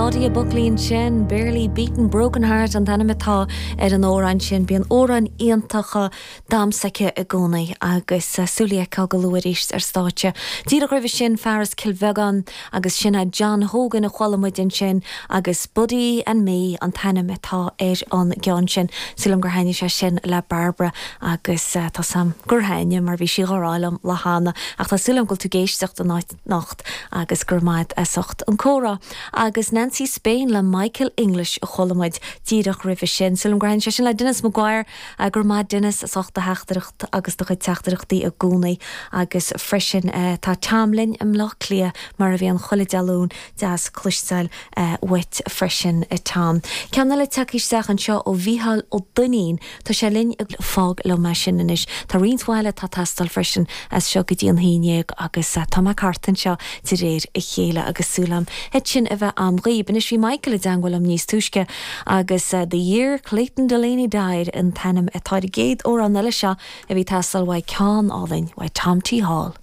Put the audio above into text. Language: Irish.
Claudia Buckley ansin, Barely Beaten Broken Heart an t-ainm atá ar an amhrán sin. Bíonn amhráin iontacha damsa aici i gcónaí agus súil í a fheiceáil go luath arís ar stáitse. Díreach roimhe sin, fear as Cill Bheagáin agus sin é John Hogan a chuala muid ansin agus Buddy and Me an t-ainm atá ar an gceann sin. Súil agam gur thaitnigh sé sin le Barbara agus tá 's a'm gur thaitnigh mar bhí sí dhá rá liom lá cheana ach tá súil agam go bhfuil tú ag éisteacht anocht agus go raibh maith a'd as ucht an comhrá. Agus Nancy Spain le Michael English a chuala muid díreach roimhe sin. Súil agam gur thaitnigh sé sin le Denis Maguire. Go raibh maith Denis as ucht do theachtaireacht agus do chuid teachtaireachtaí i gcónaí agus freisin tá Tom linn i mBleá Cliath mar a bhíonn chuile Dé Luain, deas cloisteáil uait freisin a Tom. Ceann eile tagtha isteach anseo ó Mhícheál Ó Duinnín, tá sé linn i Fág liom é sin anois. Tá roinnt mhaith eile atá ag teastáil freisin as seo go dtí an haon dhéag agus tá mé thart anseo de réir a chéile agus súil agam iad sin a bheith a'm dhaoib. Anois bhí Michael i dteangmháil liom níos túisce agus The Year Clayton Delaney Died an t-ainm atá ar an gcéad amhrán eile seo a bhí ag teastáil uaidh ceann álainn uaidh Tom T Hall.